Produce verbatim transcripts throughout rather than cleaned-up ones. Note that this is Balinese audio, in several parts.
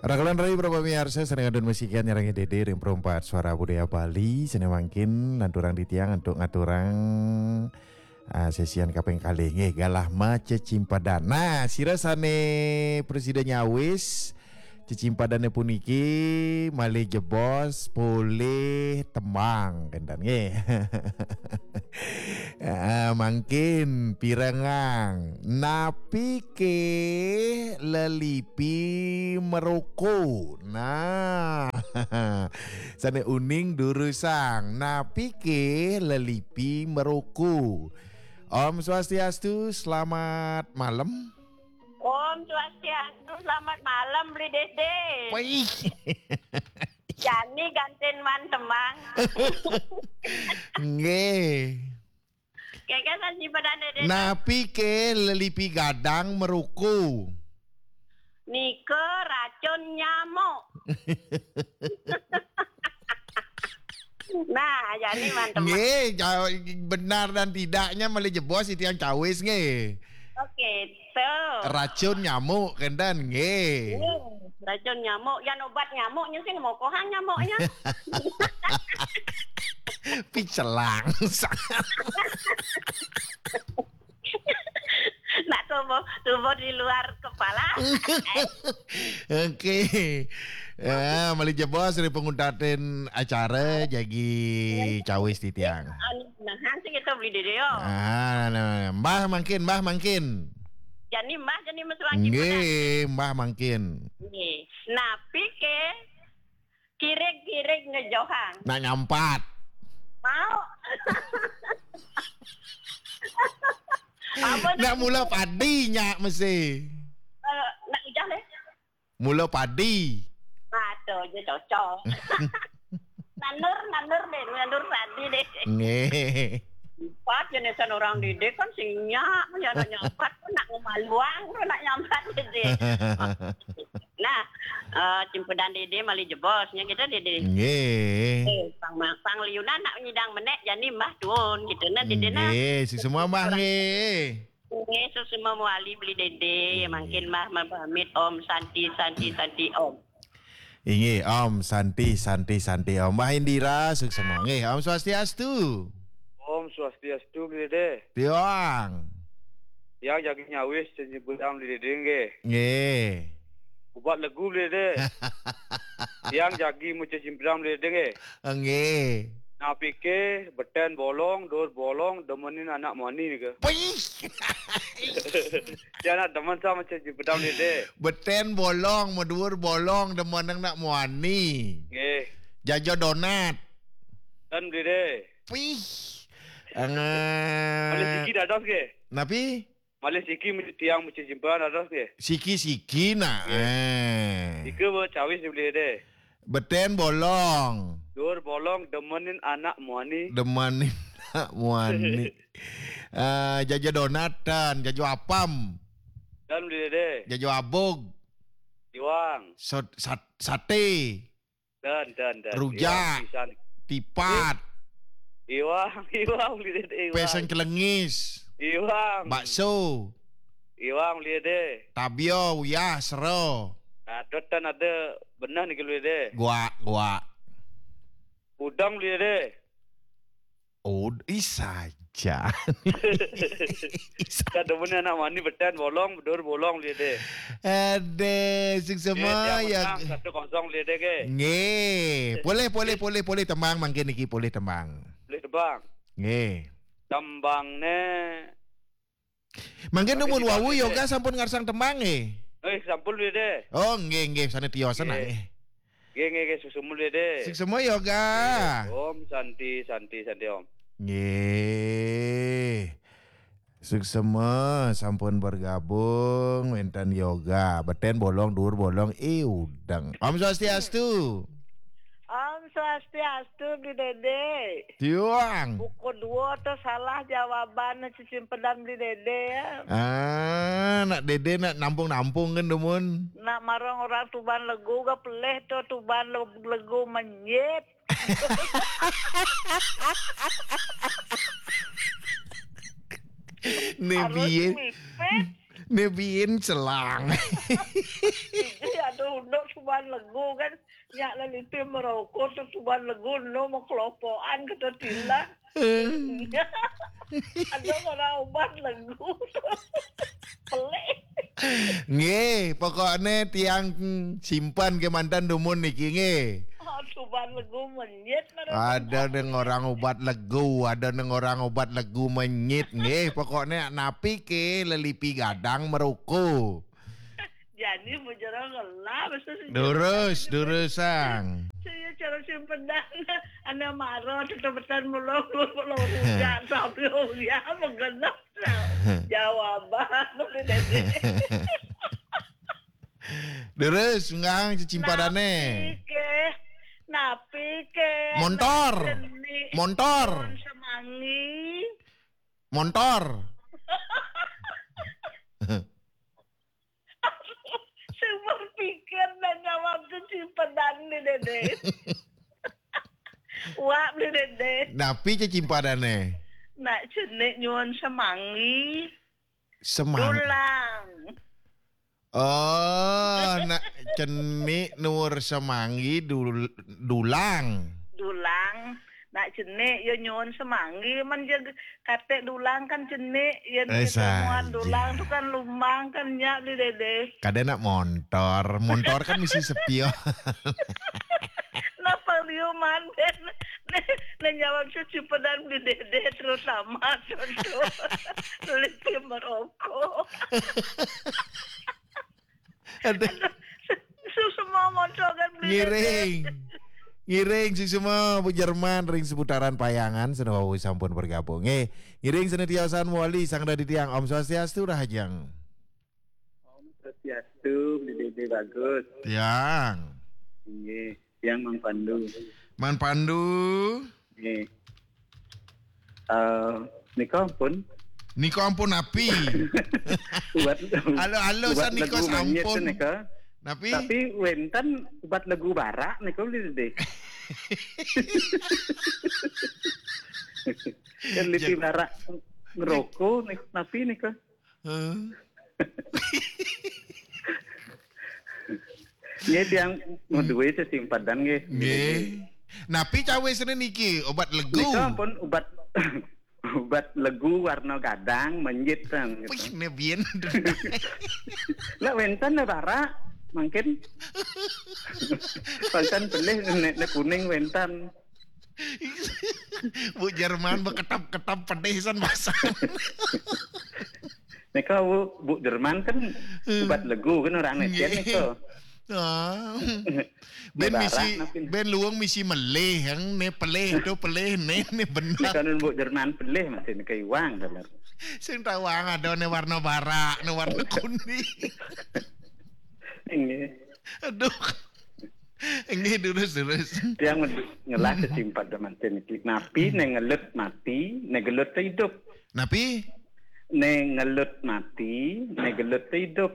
Raka lan rayi para pamiarsa, sané kantun masikian nyarengin Dédé ring Perempat Suara Budaya Bali, sané mangkin lanturang titiang antuk ngaturang, ah, sesian kaping kalih nggih, galah macecimpedan. Nah, sira sané prasida nyawis cecimpedane puniki malih jebos polih tembang kenten nggih. Ah, mangkin pirengang, napike lelipi meroko? Nah, sane uning durusang, napike lelipi meroko? Om Swastiastu, selamat malam. Om Swastiastu, selamat malam, Beli Dede. Wih. Jani gantin man temang. Nggih. Keke saji pedane, Dede. Napi ke lelipi gadang meruku? Nika racun nyamuk. Nah, jani man temang. Nggih, ja-, benar dan tidaknya malih jebos titiang cawis nggih. Oke, tuh. Racun nyamuk kenten nggih. Hmm, racun nyamuk, yan obat nyamuknya sing mokohan nyamuknya. Picelang. Nak tubuh, tubuh di luar kepala. Oke. Ya, malih jebos ring panguntatin acara jagi cawis titiang. Anu, nah, sing kita beli dede yo. Ah, nah, nah, nah. Mbah mangkin, Mbah mangkin. Jani Mbah, jani Mas Wangi. Nggih, Mbah mangkin. Nggih. Napi ke kirig-kirig ngejohang? Nak nyampat. Mau. Apa nak mula padi nyak mesti. Eh, nak ujah leh. Mula padi. Aduh, je cocok. Nandur, nandur deh, nandur padi deh. Nggih. Empat jenis orang didik kan sing nyak, ya nak nyampat, nak ngemaluang, nak nyampat deh. Nah, eh, cimpedan dede malih jebosnya kita dede. Nggih. Eh, pang, pang liunan nak nyidang menek, jani Mbah tuun, gitu. Nah, dede nah. Nggih, suksma Mbah nggih. Nggih, suksma mawali Beli Dede, ya mangkin Mbah mapamit. Om Santi, Santi, Santi, Om. Inggih, Om Santi, Santi, Santi, Om. Mbah Indira, suksma. Nggih, Om Swastiastu. Om Swastiastu, Beli Dede. Tiang. Tiang jagi nyawis cecimpedan Beli Dede, nggih. Nggih. Obat legu, Beli Dede. Tiang jagi maca cecimpedan Beli Dede, nggih. Nggih. Napike beten bolong, dur bolong, demenin anak mani nika. Pih. Tiang nak demen sama cecimpedan Beli Dede. Beten bolong, madur bolong, demenin anak mani. Nggih. Jajo donat. Dan Beli Dede. Pih. Malih siki dados nggih. Napi? Malih siki tiang maca cecimpedan dados nggih. Siki-siki nak. Nggih. Eh. Ika ba cawis Beli Dede. Beten bolong. Dur bolong demenin anak muani. Demenin anak muani. Eh, jajo donat dan jajo apam. Dan Beli Dede. Jajo abog. Iwang. Sot-, sat-, sate. Dan, dan, dan. Rujak. Iwang pisan. Tipat. Iwang, iwang, Beli Dede, iwang. Peseng celengis. Iwang. Bakso. Iwang, Beli Dede. Tabio, uyah, sero. Nah, dot dan ada benah nih, Beli Dede. Guak, guak. Udang, Beli Dede. Ud-, ih, saja. Kada punya anak mani beten bolong, bedur bolong, Beli Dede. Ade, sing semua ya, ya. Satu kosong, Beli Dede, ke? Nggih. Boleh, boleh, boleh, boleh tembang mangkin niki, boleh tembang. Boleh tembang. Nggih. Tembangnya mangkin tapi numun tidak wau ada, yoga deh. Sampun ngarsang tembang nggih. Eh, sampun, Beli Dede. Oh, nggih, nggih, sane tiosan nggih. Nggih. Nggih, nggih, nggih, suksma, Beli Dede. Suksma yoga. Nggih, Om Santi, Santi, Santi, Om. Nggih. Suksma sampun bergabung wenten yoga. Beten bolong, dur bolong, eh, udeng. Om Swastiastu. Om Swastiastu, Beli Dede. Tiang. Buku dua tu salah jawaban cecimpedan Beli Dede ya. Ah, nak Dede nak nampung-nampung kan demun. Nak marang orang Tuban legu ga peleh tu Tuban le-, legu menyit. Nebiin. Harus mipit. Nebiin selang. Ih, aduh, unduk Tuban Legu kan, nyak lelipi merokok tu tuban legu no mau kelopokan kata tilan. Ada orang ubat legu tu. Pelik. Nggih, pokoknya tiang, hmm, simpan ke mantan dumun niki nggih. Oh, tuban legu menyit. Ada deng orang ubat legu, ada deng orang ubat legu menyit nggih. Pokoknya napi ke lelipi gadang merokok. Jadi bujara ngelah mesti. Durus, durusang. Saya cara simpenan, anak marah, tetap-tetan mulung, mulung rujak, tapi ya, menggenap. Jawaban, boleh deh. Durus, ngang cecimpadane. Napi ke? Napi ke? Montor. Jenik. Montor. Semangi. Montor. Saya berpikir dan jawab tu simpenan ni dede. Wak ni dede. Napi cecimpadane? Nak jenik nyuan semangi. Semang. Dulang. Oh, nak cenik nur semanggi dul- dulang. Dulang. Nak jenik ya nyuan semanggi man je kate dulang kan jenik ya Eh, jemuan saja. Dulang tu kan lumang kan nyak di dede. Kada nak montor. Montor kan mesti sepion. Napa liu manden? Nah jawab cuci pedan di dede terutama contoh. Lelipi merokok. Aduh. Su semua montor kan beli dede. Ngiring. Ngiring si semua Bu Jerman ring seputaran Payangan senawau sampun bergabung. Eh, ngiring senantiasa wali sang dadi tiang Om Swastiastu rahajeng. Swastiastu, Bli Dede bagus. Tiang. Nggih, tiang Mang Pandu. Man Pandu. Nggih. Eh, nika ampun. Nika ampun napi? Ubat Halo, halo, ubat san nika legu manyit sampun. Nika. Napi? Tapi wenten ubat legu barak nika Bli Dede. Kan lipi Jek. Barak ngerokok nih, napi nika? Heh. Nggih tiang mau duwe sesimpadan nggih. Nggih. Napi cawe sene niki obat legu? Nika ampun ubat ubat legu warna gadang menjit kan gitu. Wih, ne bien. Lah wenten ne barak mungkin. Wenten pelih ne, ne kuning wenten. Bu Jerman beketap-ketap pedih san pasang. Nika Bu, Bu Jerman kan ubat legu kan orang netian nika. Ah. Ben Barak misi napi? Ben luung misi melih yang ne pelih tu pelih ne ne benar. Nika nun Bu Jerman pelih masih nika iwang dalam. Sing tawang ada ne warna barak, ne warna kuning. Nggih. Aduh. Nggih durus durus. Tiang ngelah kesimpat daman niki. Napi ne ngelut mati, ne gelut te hidup. Napi? Ne ngelut mati, ne gelut te hidup.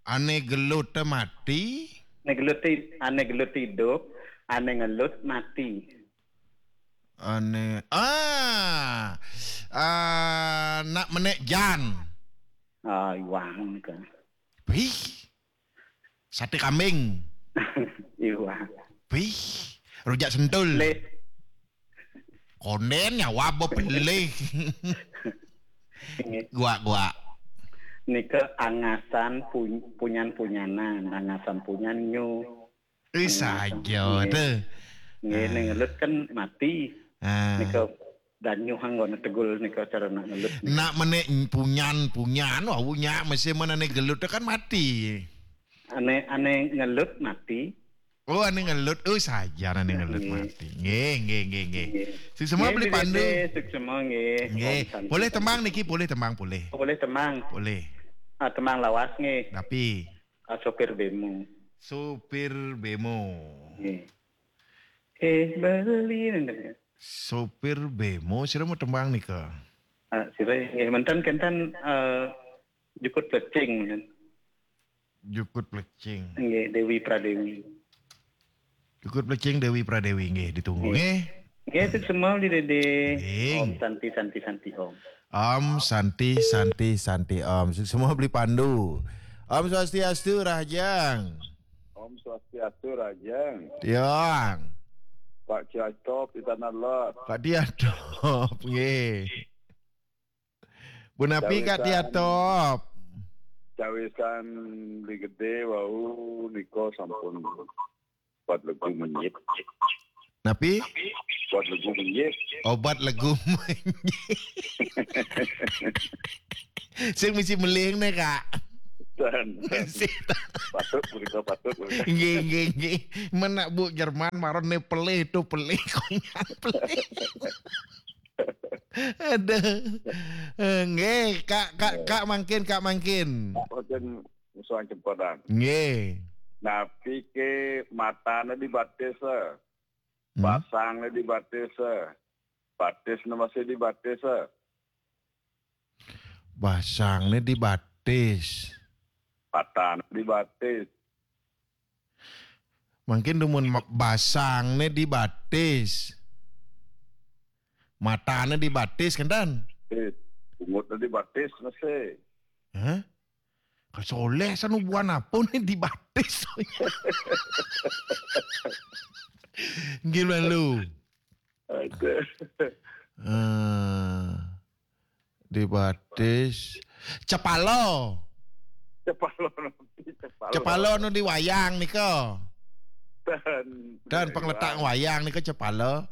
Ane gelut te mati. Ne gelut te, ane gelut te hidup, ane ngelut mati. Ane ah ah nak menek jan. Ah, iwang nika. Wih. Sate kambing. Iwang. Wih. Rujak sentul. Le, Konden nyawa bo pelih. nggih. Gua gua. Nika angasan pun, punyan-punyanan, angasan punyan nyu. Eh saja tu. Nggih, ne ngelut kan mati. Ah. Nika danyuh anggone tegul nika cara nak ngelut. Nak menek punyan punyan wah punya mesti mana ne gelut tu kan mati. Ane ane ngelut mati. Oh ane ngelut, oh saja ane ngelut Nggih. mati. Nggih nggih nggih nggih. Nggih. Sing semua Nggih, beli Bli pandu. Dede, sing semua nggih. Nggih. Om Santi. Boleh tembang niki, boleh tembang boleh. Oh, boleh tembang. Boleh. Ah, tembang lawas nggih. Tapi Ah, sopir bemo. Sopir bemo. Nggih. Eh, beli nenten. Sopir bemo sira mau tembang nika. Ah, sira nggih menten kenten eh, jukut plecing menten. Jukut plecing. Nggih, Dewi Pradewi. Jukut plecing Dewi Pradewi nggih ditunggu nggih. Nggih, sing semua Bli Dede. Nggih. Om Santi Santi Santi Om. Om Santi Santi Santi Om. Sing semua beli pandu. Om Swastiastu rahajeng. Om Swastiastu, Rajang. Tiang. Pak Cacop di Tanah Lot. Kak Diatop, nggih. Punapi Kak Diatop? Cawisan di gede wau niko sampun buat lagu menyit. Napi? Buat lagu menyit. Obat lagu. Sing misi meling nih, Kak. Dan Sing patut punika, patut punika. Nggih, nggih, nggih. Menak Bu Jerman maron nih pelih tuh, pelih, konyang pelih. Aduh. Eh, nggih, Kak, Kak, Kak mangkin, Kak mangkin. Boten musuhan cempedan. Nggih. Napi ke matane dibatis, eh? Hmm. Basangnya dibatis, eh? Batisnya masih dibatis, eh? Basangnya dibatis. Patane dibatis. Mangkin dumun ma- basangnya dibatis. Matanya dibatis, kenten? Eh, bungutnya dibatis masih. Hah? Kasoleh sanubuan apa nih dibatis? Nggih lalu. Ada. Eh, dibatis. Cepalo. Cepalo nanti, cepalo. Cepalo nu di wayang nika. Dan, Dan pengletak wayang nika cepalo.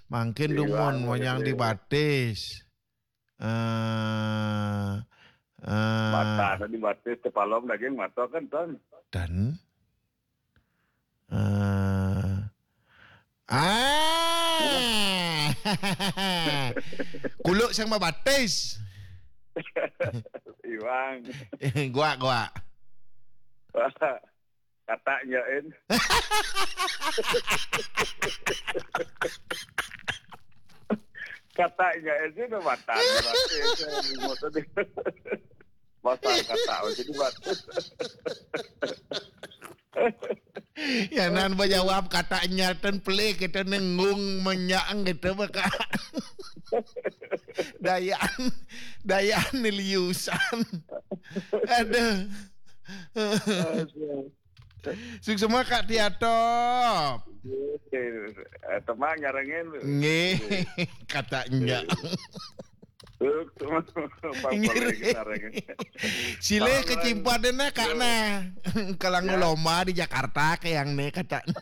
Mangkin dumun wayang dibatis. Eh, eh, Matane dibatis, cepalo daging mata kan, Tan. Dan eh, ah. Kuluk sang mabatis. Iwang. Gua, gua. Kata nyain. Kata nyain sih udah matane batis. Masa kata jadi batis. Ya nan bajawab kata nyatan pelik kita nengung menyang gitu baka. Dayan, Dayan niliusan. Aduh. Sukses semua Kak Tiatop. Eh, teman nyarengin. Nggih, katanya. Tuh, teman, Bang, Nggih. Boleh kita rengin. Silih kecimpatan nah Kak nah. Kalang lomba di Jakarta kayak nih katanya.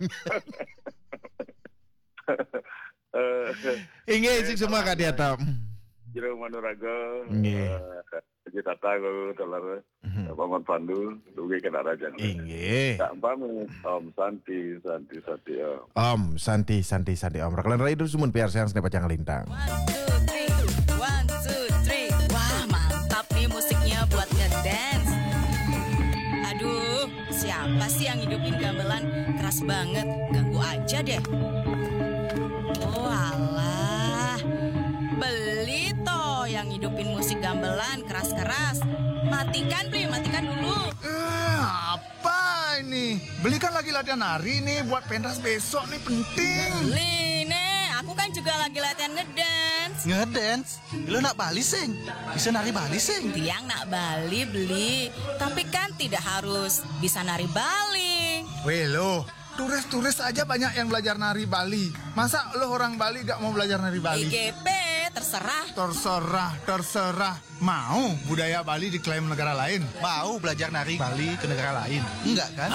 Eh, Inggih, sukses semua Kak Tiatop. Jero Manuraga. Nggih. Eh, Haji Tata, Guru Teler, Paman Pandu, dugi kena raja. Inggih. Tak umpami, Om Santi, Santi, Santi, Om. Om Santi, Santi, Santi, Om. Rakalan Rai Dusumun P R Seang Sene Pacang Lintang. One, two, three. One, two, three. Wah, mantap nih musiknya buat ngedance. Aduh, siapa sih yang hidupin gamelan keras banget? Ganggu aja deh. Oh alah. Beli toh yang hidupin musik gamelan keras-keras. Matikan, Beli, matikan dulu. Eh, apa ini? Beli kan lagi latihan nari nih buat pentas besok nih, penting. Beli nih, aku kan juga lagi latihan ngedance. Ngedance? Lu nak Bali sing? Bisa nari Bali sing? Tiang nak Bali, Beli. Tapi kan tidak harus bisa nari Bali. Weh lo, turis-turis aja banyak yang belajar nari Bali. Masa lo orang Bali gak mau belajar nari Bali? I G P, terserah. Terserah, terserah. Mau budaya Bali diklaim negara lain? Mau belajar nari Bali ke negara lain? Enggak kan?